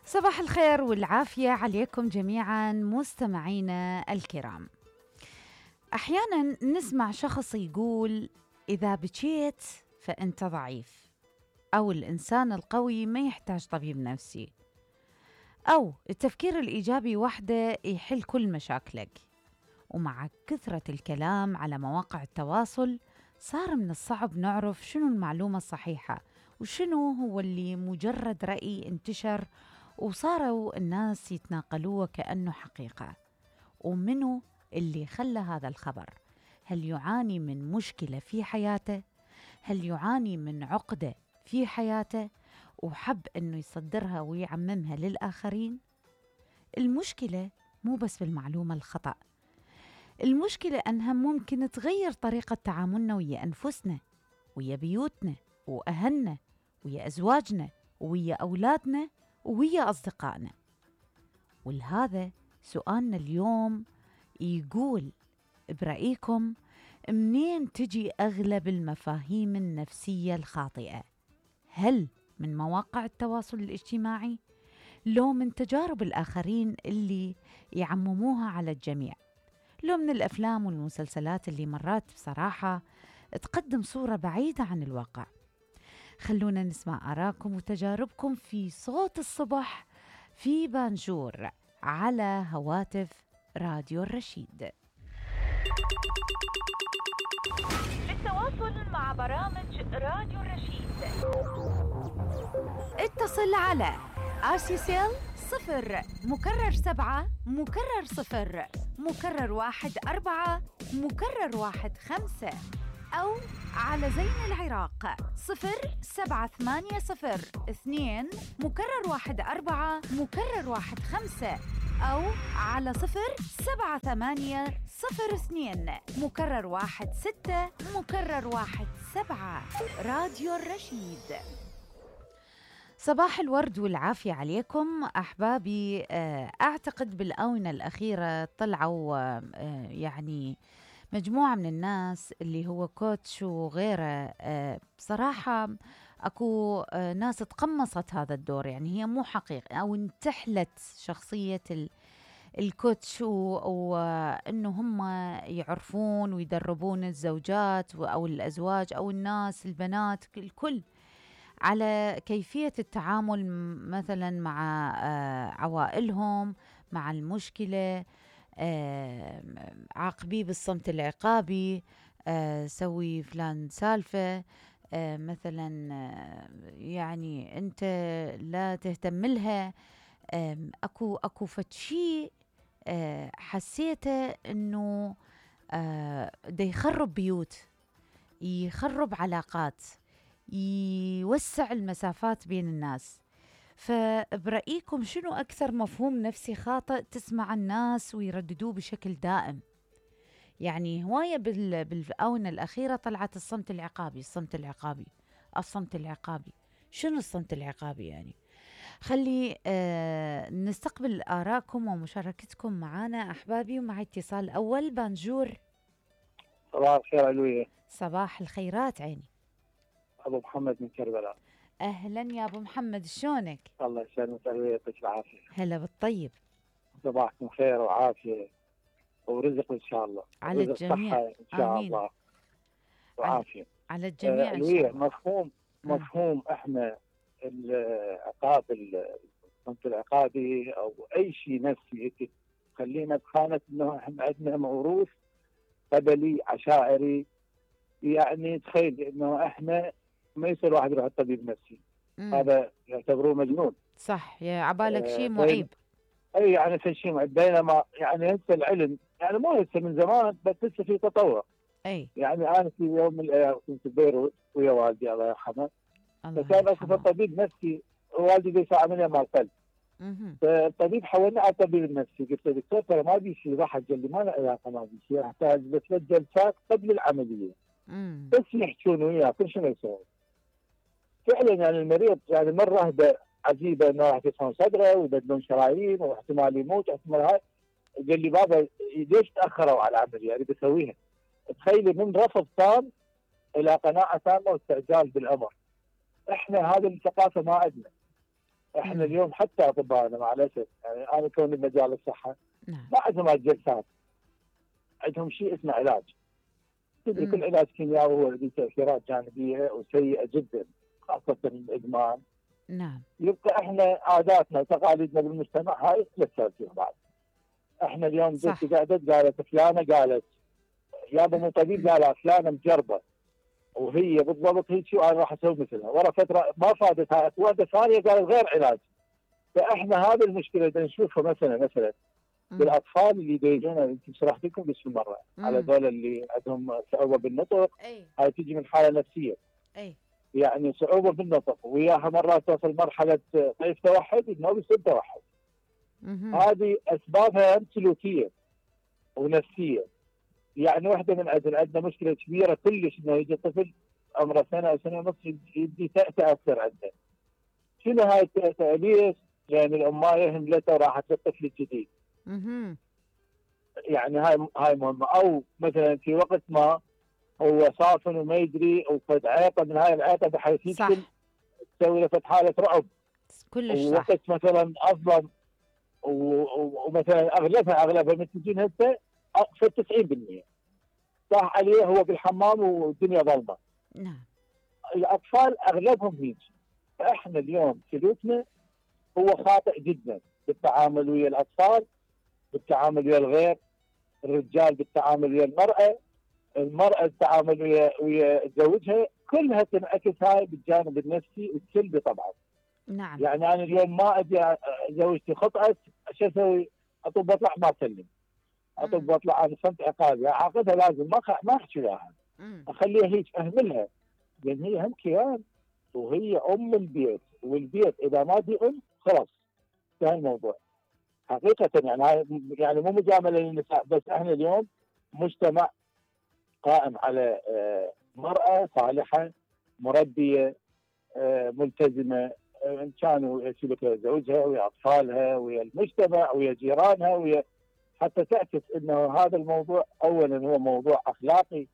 صباح الخير والعافية عليكم جميعا مستمعينا الكرام. أحيانا نسمع شخص يقول إذا بكيت فأنت ضعيف، أو الإنسان القوي ما يحتاج طبيب نفسي، أو التفكير الإيجابي وحده يحل كل مشاكلك. ومع كثرة الكلام على مواقع التواصل صار من الصعب نعرف شنو المعلومة الصحيحة وشنو هو اللي مجرد رأي انتشر وصاروا الناس يتناقلوه كأنه حقيقة. ومنو اللي خلى هذا الخبر؟ هل يعاني من مشكلة في حياته؟ هل يعاني من عقدة في حياته وحب أنه يصدرها ويعممها للآخرين؟ المشكلة مو بس بالمعلومة الخطأ، المشكلة أنها ممكن تغير طريقة تعاملنا ويا أنفسنا، ويا بيوتنا وأهلنا، ويا أزواجنا، ويا أولادنا، ويا أصدقائنا. ولهذا سؤالنا اليوم يقول برأيكم منين تجي أغلب المفاهيم النفسية الخاطئة؟ هل من مواقع التواصل الاجتماعي؟ لو من تجارب الآخرين اللي يعمموها على الجميع؟ لو من الأفلام والمسلسلات اللي مرات بصراحة تقدم صورة بعيدة عن الواقع؟ خلونا نسمع آراءكم وتجاربكم في صوت الصبح في بانجور على هواتف راديو الرشيد. للتواصل مع برامج راديو الرشيد اتصل على RCCL 0 مكرر 7 مكرر 0 مكرر 1 4 مكرر 1 5، أو على زين العراق 07802 مكرر 1 4 مكرر 1 5، أو على 07802 مكرر 1 6 مكرر 1 7. راديو الرشيد. صباح الورد والعافية عليكم أحبابي. أعتقد بالآونة الأخيرة طلعوا يعني مجموعة من الناس اللي هو كوتش وغيره. بصراحة أكو ناس تقمصت هذا الدور، يعني هي مو حقيقي أو انتحلت شخصية الكوتش، وأنه هم يعرفون ويدربون الزوجات أو الأزواج أو الناس البنات الكل على كيفية التعامل مثلا مع عوائلهم، مع المشكلة، عاقبيه بالصمت العقابي، سوي فلان سالفة، مثلا يعني أنت لا تهتم لها. أكو فتشي حسيته أنه دا يخرب بيوت، يخرب علاقات، يوسع المسافات بين الناس. فبرأيكم شنو أكثر مفهوم نفسي خاطئ تسمع الناس ويرددوه بشكل دائم؟ يعني هواية بالآونة الأخيرة طلعت الصمت العقابي، الصمت العقابي، الصمت العقابي. شنو الصمت العقابي يعني؟ خلي نستقبل آراءكم ومشاركتكم معنا أحبابي. ومع اتصال أول بانجور. صباح الخير علوية. صباح الخيرات عيني. أبو محمد من كربلاء. أهلا يا أبو محمد، شلونك؟ الله يسلمك علوية، يعطيك العافية. هلا بالطيب. صباحكم خير وعافية ورزق إن شاء الله، على الجميع. صحة إن شاء آمين. الله وعافية على الجميع إن شاء الله. مفهوم إحنا العقاب، الصمت العقابي أو أي شيء نفسي خلينا بخانة إنه إحنا عندنا موروث قبلي عشائري. يعني تخيل إنه إحنا ما يصير واحد يروح الطبيب نفسي، هذا يعتبروه مجنون. صح، يا عبالك شيء معيب. اي يعني في شيء معيب، بينما يعني هسه العلم يعني مو هسه من زمان، بس لسه في تطور. اي يعني انا في يوم من الايام كنت ببيروت ويا والدي الله يرحمه، فكان اكو طبيب نفسي، والدي بيسوي عمليه مال قلب، فالطبيب حولنا على الطبيب النفسي. قلت له دكتور ترى ما بي شيء، راح قال لي ما له علاقه، ما بي شيء، احتاج ل3 جلسات قبل العمليه بس يحكون وياه كل شيء ما يسوي. فعلا يعني المريض يعني مره رهبه عجيبه انه راح يفهم صدره ويبدلون شرايين واحتمال يموت احتمال هاي. قال لي بابا ليش تاخروا على العمليه؟ يعني بسويها. تخيلي من رفض تام الى قناعه تامه واستعجال بالامر. احنا هذه الثقافه ما عندنا. احنا اليوم حتى اطبائنا مع الاسف، يعني انا كوني بمجال الصحه ما عندهم جلسات، عندهم شيء اسمه علاج. تدري كل علاج كيميائي هو له تاثيرات جانبيه وسيئه جدا، خاصه الادمان. نعم. يبقى احنا عاداتنا وتقاليدنا بالمجتمع هاي لا تاثير بعد. احنا اليوم بنتي قالت فلانه قالت يابا مو طبيب، قال فلانه مجربه وهي بالضبط هيك، وانا راح اسوي مثلها. ورا فتره ما فادت، هاي واحده ثانيه قالت غير علاج. فاحنا هذه المشكله اللي نشوفها مثلا بالاطفال اللي يجونا، يمكن شرحت لكم بس مره على ذول اللي عندهم صعوبه بالنطق. هاي تجي من حاله نفسيه. يعني صعوبه بالنطق، وياها مرات توصل مرحله طيف توحد، انه بيصير توحد. هذه اسبابها سلوكيه ونفسيه. يعني واحده من عندنا مشكله كبيره كلش، انه يجي طفل عمره سنه او سنه ونص يبدي تأتأ اكثر عنده. شنو هاي التأتأ؟ ليش؟ لان الامايه هملته وراحت للطفل الجديد. يعني هاي مهمه. او مثلا في وقت ما هو صافن وما يدري وفد عيطه من هاي العيطه بحيث يدخل تسوي له حاله رعب كلش صح. ووقت مثلا اصلا ومثلا اغلبها من تجين هسه في 90% صح عليه هو بالحمام والدنيا ظلمه. نعم. الاطفال اغلبهم هيك. فاحنا اليوم سلوكنا هو خاطئ جدا بالتعامل ويا الاطفال، بالتعامل ويا الغير، الرجال بالتعامل ويا المرأة بالتعامل ويا زوجها، كلها تنعكس هاي بالجانب النفسي السلبي طبعا. نعم. يعني انا اليوم ما اجي زوجتي خطأت، شو اسوي؟ اطب واطلع ما اسلم، اطب واطلع انا صمت عقابي، اعاقبها لازم ما احكي وياها، اخليها هيك اهملها، لان هي هم كيان وهي ام البيت، والبيت اذا ما دي ام خلاص انتهى الموضوع. حقيقة يعني مو مجاملة للنساء، بس احنا اليوم مجتمع قائم على مرأة صالحة مربية ملتزمة، ان كانوا يسلك زوجها ويا اطفالها ويا المجتمع ويا جيرانها ويا، حتى تعكس انه هذا الموضوع اولا هو موضوع اخلاقي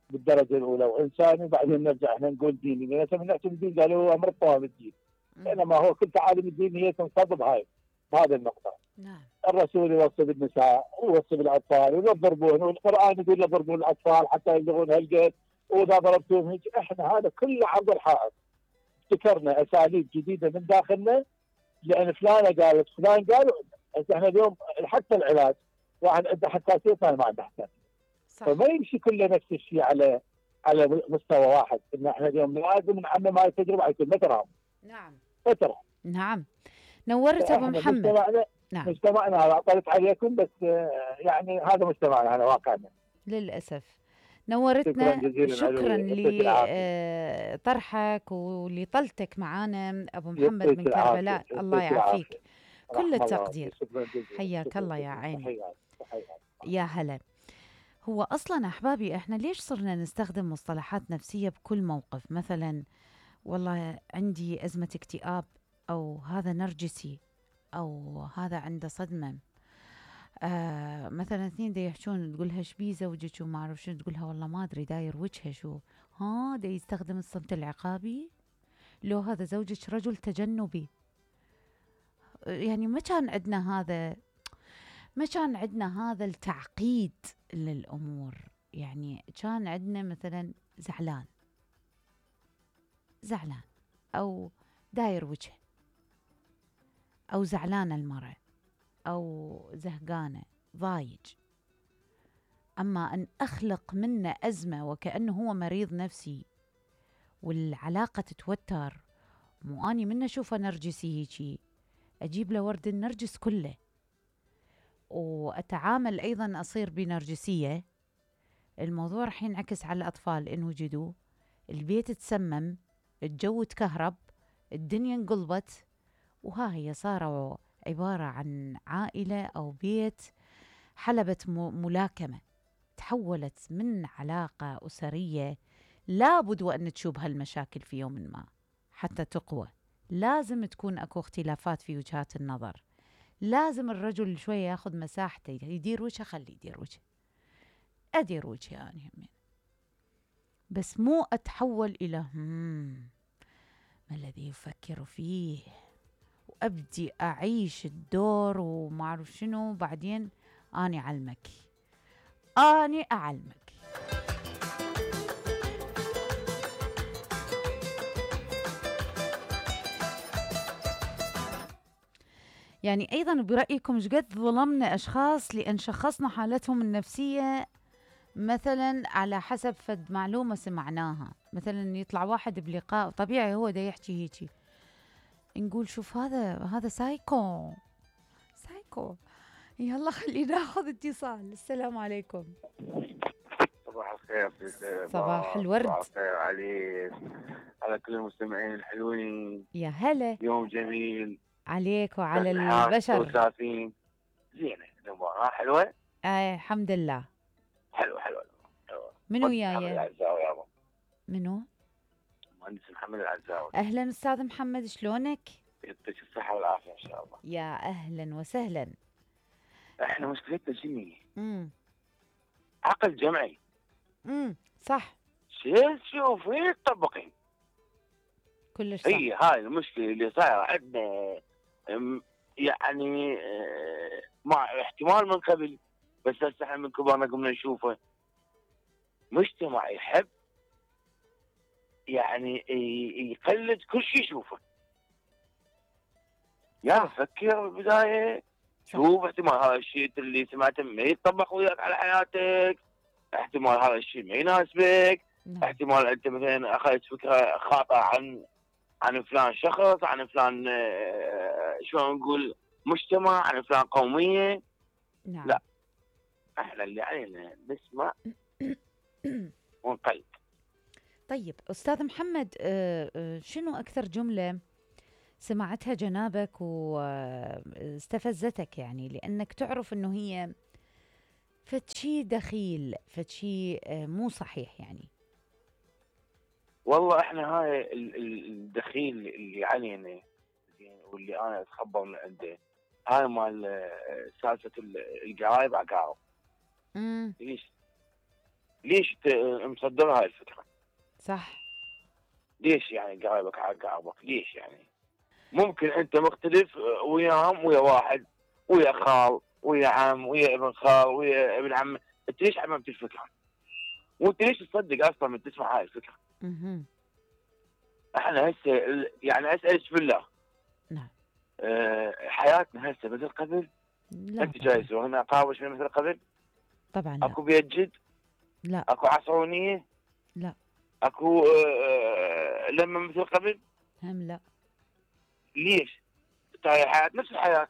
بالدرجه الاولى وانساني، وبعدين نرجع احنا نقول ديني، لان من نحكي الدين قالوا هو امر الطوام الدين، بينما هو كل تعاليم الدين هي تنصب بهذا النقطه. نعم. الرسول يوصي بالنساء ويوصي بالاطفال ولا تضربون، والقران يقول لا تضربون الاطفال حتى يبلغون هالقد، واذا ضربتوهم هيك. احنا هذا كله عرض الحائط، ابتكرنا اساليب جديده من داخلنا لان فلانه قالت فلان قالوا. احنا اليوم حتى العلاج واحد عنده حساسيه ثاني ما عنده حساسيه، فما يمشي كله نفس الشيء على مستوى واحد. ان احنا اليوم لازم نعمم هاي التجربه على كل فتره. نعم. فتره. نعم. نورت ابو محمد. نعم. مجتمعنا هذا طلت عليكم، بس يعني هذا مجتمعنا، هذا واقعنا للاسف. نورتنا. شكرا لطرحك ولطلتك معانا ابو محمد من كربلاء. الله يعافيك. كل التقدير. حياك الله يا عيني. يا هلا. هو اصلا احبابي احنا ليش صرنا نستخدم مصطلحات نفسيه بكل موقف؟ مثلا والله عندي ازمه اكتئاب، او هذا نرجسي، او هذا عنده صدمه. مثلا اثنين دا يحشون، تقولها شبي زوجك وما اعرف شنو، تقولها والله ما ادري داير وجهه شو. دا يستخدم الصمت العقابي. لو هذا زوجك رجل تجنبي. يعني ما كان عندنا هذا التعقيد للامور. يعني كان عندنا مثلا زعلان او داير وجهه، او زعلانه المرأة، أو زهقانة ضايج. أما أن أخلق منه أزمة وكأنه هو مريض نفسي والعلاقة تتوتر، مو أني منه أشوفه نرجسي هيجي أجيب له ورد النرجس كله، وأتعامل أيضا أصير بنرجسية. الموضوع رح ينعكس على الأطفال إن وجدوا، البيت تسمم، الجو تكهرب، الدنيا انقلبت، وها هي صاروا عبارة عن عائلة أو بيت حلبة ملاكمة، تحولت من علاقة أسرية. لابد وأن تشوب هالمشاكل في يوم ما حتى تقوى. لازم تكون أكو اختلافات في وجهات النظر. لازم الرجل شوية ياخذ مساحته، يدير وجهه، خليه يدير وجهه، أدير وجهي يعني همين. بس مو أتحول إلى ما الذي يفكر فيه، وأبدي أعيش الدور وما أعرف شنو، بعدين أني أعلمك، أني أعلمك. يعني أيضا برأيكم ايش قد ظلمنا أشخاص لأن شخصنا حالتهم النفسية مثلا على حسب فد معلومة سمعناها، مثلا يطلع واحد بلقاء طبيعي هو دا يحكي هيجي، نقول شوف هذا سايكو. يلا خلينا ناخذ اتصال. السلام عليكم. صباح الخير. صباح الورد. صباح الخير عليك، على كل المستمعين الحلوين. يا هلا. يوم جميل عليك وعلى البشر. وسافين زينة، المباراة حلوة. الحمد لله. حلوة. منو وياي؟ منو؟ مهندس محمد العزاوي. أهلا أستاذ محمد، شلونك؟ يعطيك الصحة والعافية إن شاء الله. يا أهلا وسهلا. إحنا مشكلتنا شنو؟ عقل جمعي. صح. شوف وين تطبقين؟ كلش صح. هي هاي المشكلة اللي صايرة عندنا، يعني مع احتمال من قبل، بس هسه احنا من كبارنا قمنا نشوفه. مجتمع يحب يعني يقلد كل شيء يشوفه. يعني فكر بالبداية، شوف احتمال هذا الشيء اللي سمعته ما يتطبق وياك على حياتك، احتمال هذا الشيء ما يناسبك، احتمال انت مثلا اخذت فكرة خاطئة عن فلان شخص، عن فلان شلون نقول مجتمع، عن فلان قومية. لا، احنا اللي علينا نسمع ونقلد. طيب أستاذ محمد، شنو أكثر جملة سمعتها جنابك واستفزتك، يعني لأنك تعرف أنه هي فتشي دخيل، فتشي مو صحيح يعني؟ والله احنا هاي الدخيل اللي علينا واللي انا اتخبر من عنده، هاي مال سالفة القرايب عقارب. ليش مصدر هاي الفكرة؟ صح. ليش يعني قرايبك عقاربك؟ ليش يعني؟ ممكن انت مختلف وياهم، ويا واحد، ويا خال، ويا عم، ويا ابن خال، ويا ابن عم، انت ليش عممت الفكرة؟ وانت ليش تصدق اصلا من تسمع هاي الفكرة؟ احنا هسه يعني اسالك بالله، نعم، حياتنا هسه مثل قبل؟ لا انت جايز وهنا قاوش من مثل قبل؟ طبعا لا. اكو بيت جد؟ لا. اكو عصرونية؟ لا. اكو لما مثل قبل؟ هم لا. ليش؟ هاي الحياة نفس الحياة.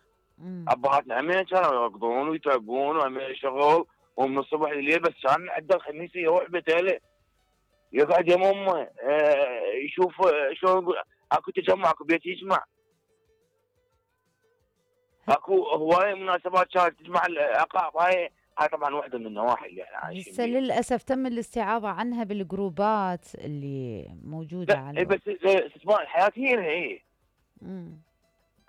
ابهاتنا همين كانوا يركضون ويتعبون وهمين شغل ومن الصبح لليل، بس كان عنده الخميس يروح بيته يقعد يم امه يشوف شلون نقول، اكو تجمع، اكو بيت يجمع، اكو هوايه مناسبات كانت تجمع العقاب. هاي طبعا واحده من النواحي اللي احنا عايشين هسه للاسف تم الاستعاضه عنها بالجروبات اللي موجوده على بس استثمار الحياه هي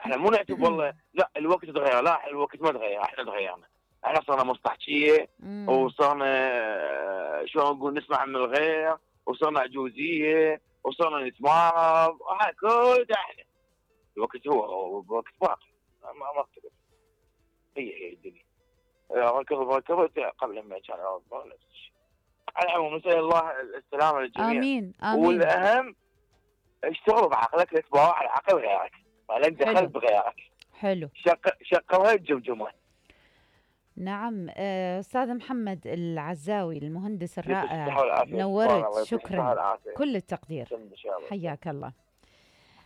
احنا مو نعتب والله لا الوقت تغير، لا الوقت ما تغير، احنا تغيرنا، احنا صرنا مصطحشيه وصرنا شلون نقول نسمع من الغير، وصرنا عجوزيه، وصرنا نتمارض، هاي كل احنا. الوقت هو وقت باقي ما اختلف. هي الدنيا ركضت قبل ما كان نفس الشيء. على العموم نسال الله السلامه للجميع. امين. والاهم اشتغلوا بعقلك، لا تباوع على عقل غيرك، ولا انت خلف غيرك. حلو. شقوها الجمجمه. نعم. أستاذ محمد العزاوي المهندس الرائع، نورت، شكرا، كل التقدير، حياك الله.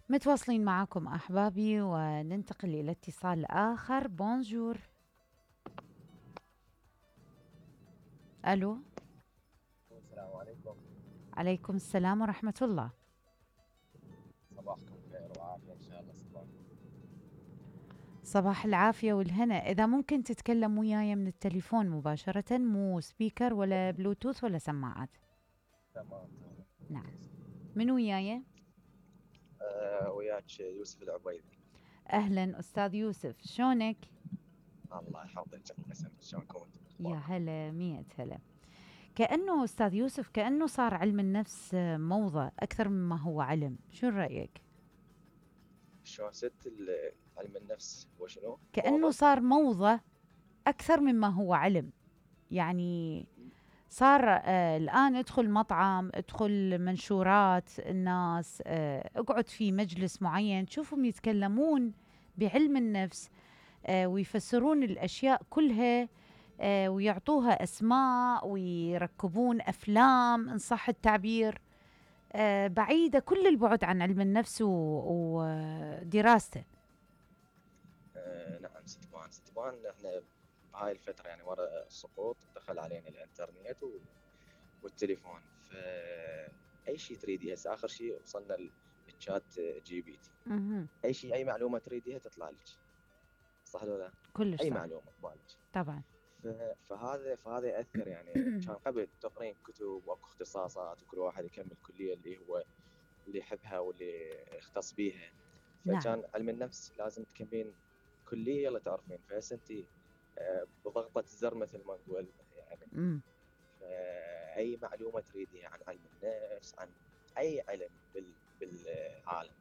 متواصلين معكم أحبابي وننتقل إلى اتصال آخر. بونجور. ألو. السلام عليكم. عليكم السلام ورحمة الله. صباحكم خير وعافية إن شاء الله. صباح العافية والهنا. إذا ممكن تتكلم وياي من التليفون مباشرة، مو سبيكر ولا بلوتوث ولا سماعات. تمام. نعم. من وياي؟ وياك يوسف العبيدي. أهلا أستاذ يوسف، شلونك؟ الله يحفظك، شلونكم؟ يا هلا، 100 هلا. كأنه أستاذ يوسف كأنه صار علم النفس موضة أكثر مما هو علم، شو رأيك؟ شلون علم النفس هو شنو؟ كأنه موضة؟ صار موضة أكثر مما هو علم. يعني صار الآن ادخل مطعم، ادخل منشورات الناس، اقعد في مجلس معين تشوفهم يتكلمون بعلم النفس، ويفسرون الأشياء كلها، ويعطوها أسماء ويركبون أفلام إن صح التعبير، بعيدة كل البعد عن علم النفس ودراسته. نعم ستبان احنا بهاي الفترة يعني ورا السقوط دخل علينا الانترنت والتليفون، فأي شيء تريديه هسه آخر شيء وصلنا الشات جي بي تي. أي شيء أي معلومة تريديها تطلع لك، صح ولا لا؟ كلش أي صح. معلومة تبالك طبعا. فهذا يأثر يعني. كان قبل تقرين كتب واكو اختصاصات وكل واحد يكمل الكلية اللي يحبها واللي يختص بيها، فكان نعم. علم النفس لازم تكملين كلية يلا تعرفين، فهسه انت بضغطة زر مثل ما نقول يعني. فأي معلومة تريديها عن علم النفس، عن أي علم بالعالم،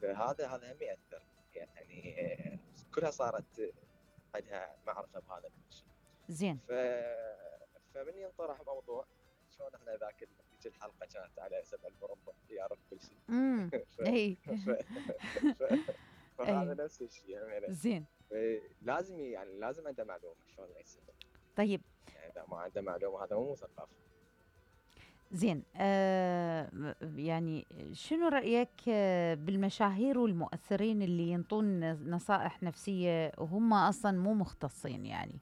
فهذا هم يأثر يعني. كلها صارت عندها معرفة بهذا الشيء. زين. فمن ينطرح موضوع شلون احنا ذيك الحلقة كانت على 7 المربع يعرف كل شيء. اي. فهذا نفس الشيء يعني. زين. لازم عنده معلومة شلون يستفيد. طيب يعني اذا ما عنده معلومة هذا مو مثقف. زين. يعني شنو رأيك بالمشاهير والمؤثرين اللي ينطون نصائح نفسية وهم أصلا مو مختصين؟ يعني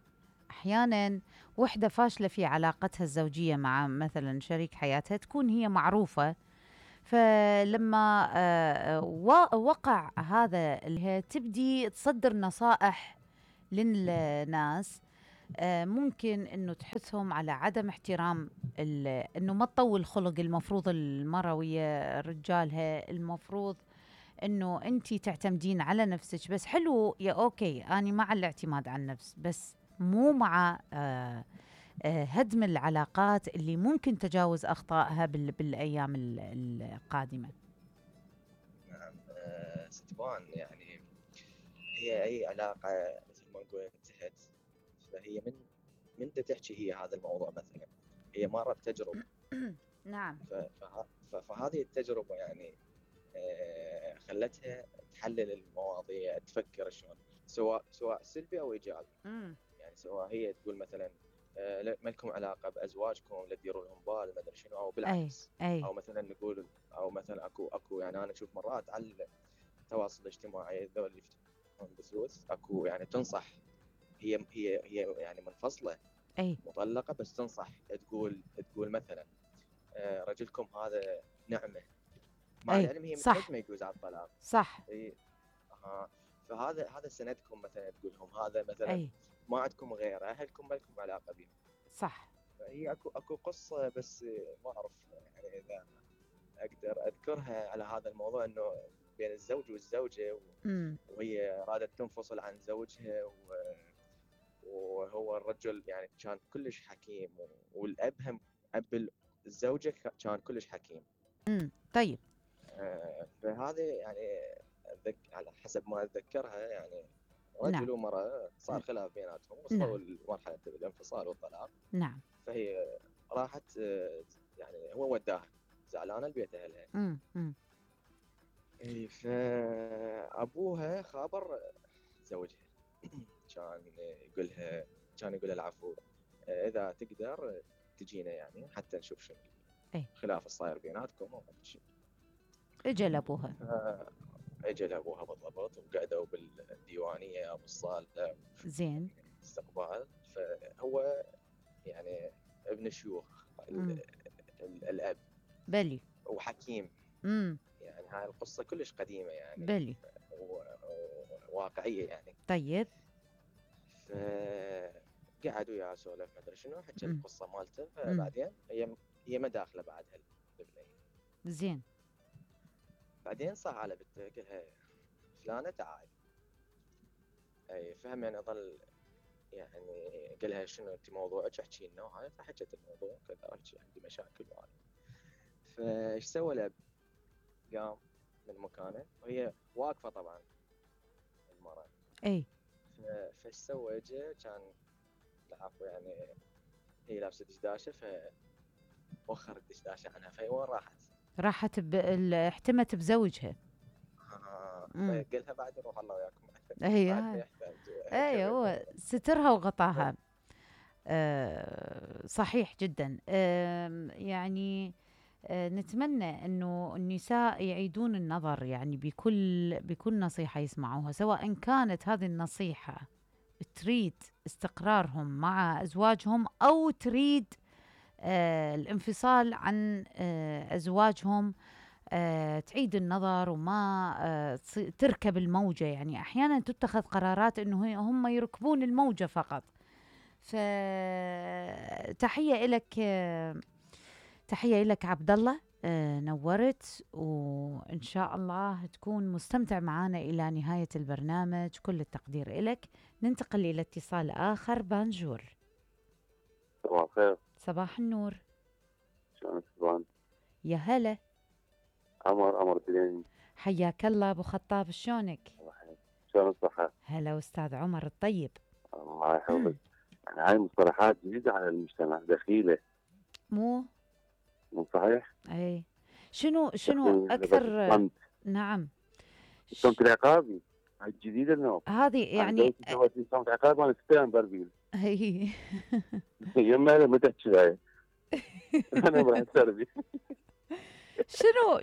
أحيانا وحدة فاشلة في علاقتها الزوجية مع مثلا شريك حياتها تكون هي معروفة، فلما وقع هذا اللي هي تبدي تصدر نصائح للناس، ممكن انه تحثهم على عدم احترام انه ما تطول خلق. المفروض المرأة ويا رجالها المفروض انه انتي تعتمدين على نفسك بس. حلو يا اوكي، انا مع الاعتماد على النفس بس مو مع هدم العلاقات اللي ممكن تجاوز اخطائها بالايام القادمة. نعم. ستبان يعني هي اي علاقة مثل ما نقول انتهت، فهي من تحكي هي هذا الموضوع مثلا هي مرت تجربة. نعم. فهذه التجربة يعني خلتها تحلل المواضيع، تفكر شلون، سواء سلبي او ايجابي. يعني سواء هي تقول مثلا ما لكم علاقة بازواجكم لا تديروا لهم بال ما ادري شنو، او بالعكس. او مثلا نقول او مثلا اكو يعني انا اشوف مرات على التواصل الاجتماعي ذول اللي يفتحون بثوث اكو يعني تنصح، هي يعني منفصلة مطلقة بس تنصح، تقول مثلا رجلكم هذا نعمة، مع العلم هي متحكمة يجوز على الطلاق. صح. فهذا سندكم مثلا تقول لهم هذا مثلا ما عندكم غير اهلكم ما لكم علاقة بهم. صح. فهي اكو قصة بس ما اعرف يعني اذا اقدر اذكرها على هذا الموضوع، انه بين الزوج والزوجة وهي رادت تنفصل عن زوجها وهو الرجل يعني كان كلش حكيم، والاب هم اب الزوجة كان كلش حكيم. طيب. فهذه يعني على حسب ما اتذكرها يعني رجل ومرأة صار خلاف بيناتهم وصلوا لمرحلة الانفصال والطلاق. نعم. فهي راحت يعني هو وداها زعلانة لبيت اهلها. فابوها خابر زوجها كان يقولها العفو اذا تقدر تجينا يعني حتى نشوف شنو الخلاف الصاير بيناتكم وما شيء. اجى لابوها. اجى لابوها بالضبط، وقعدوا بالديوانيه بالصاله. زين. استقبال. فهو يعني ابن شيوخ الاب بلي وحكيم. يعني هاي القصه كلش قديمه يعني بلي واقعيه يعني. طيب. قعدوا يا سولف ما ادري شنو، حكى القصه مالته. فبعدين هي ما داخله بعدها البنيه. زين. بعدين صح على بنته قال لها فلانه تعالي. فهم يعني ظل يعني قال لها شنو انت موضوعك احكي لنا وهاي. فحكت الموضوع كذا عندي مشاكل وهاي. فايش سوى الاب؟ قام من مكانه وهي واقفه طبعا المرأة. اي فايش سوى؟ اجى كان العفو يعني هي لابسه دشداشه فوخر الدشداشه عنها فهي وين راحت احتمت بزوجها. فقالها بعد روح الله وياكم. اي هو سترها وغطاها. صحيح جدا. يعني نتمنى انه النساء يعيدون النظر يعني بكل نصيحه يسمعوها، سواء كانت هذه النصيحه تريد استقرارهم مع ازواجهم او تريد الانفصال عن ازواجهم. تعيد النظر وما تركب الموجه. يعني احيانا تتخذ قرارات انه هم يركبون الموجه فقط. فتحيه لك، تحيه لك عبد الله. نورت، وإن شاء الله تكون مستمتع معنا إلى نهاية البرنامج. كل التقدير لك. ننتقل إلى اتصال آخر. بانجور. صباح الخير. صباح النور. شلونك سبحان؟ يا هلا. عمر تلين. حياك الله أبو خطاب، شلونك؟ شلون الصحة؟ هلا أستاذ عمر الطيب. الله يحفظك. يعني هاي مصطلحات جديدة على المجتمع، دخيلة. مو صحيح؟ اي. شنو اكثر؟ نعم. الصمت العقابي هاي الجديدة انه هذه يعني صمت عقابي مال ستان بربيل. هي يما ما تحكي هاي. انا راح تسربي.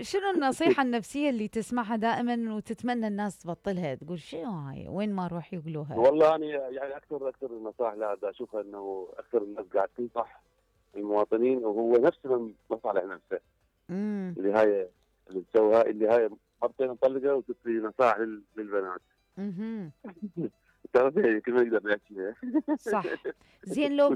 شنو النصيحة النفسية اللي تسمعها دائما وتتمنى الناس تبطلها؟ تقول شنو هاي؟ وين ما اروح يقولوها. والله انا يعني اكثر النصائح لا اشوفها انه اكثر الناس قاعد تنصح المواطنين وهو نفسه من مصالح نفسه. اللي هاي اللي تسويها اللي هاي مرتين نطلقها وتعطي نصائح للبنات. تعرفي كل ما يقدر يحكيها. صح. زين لو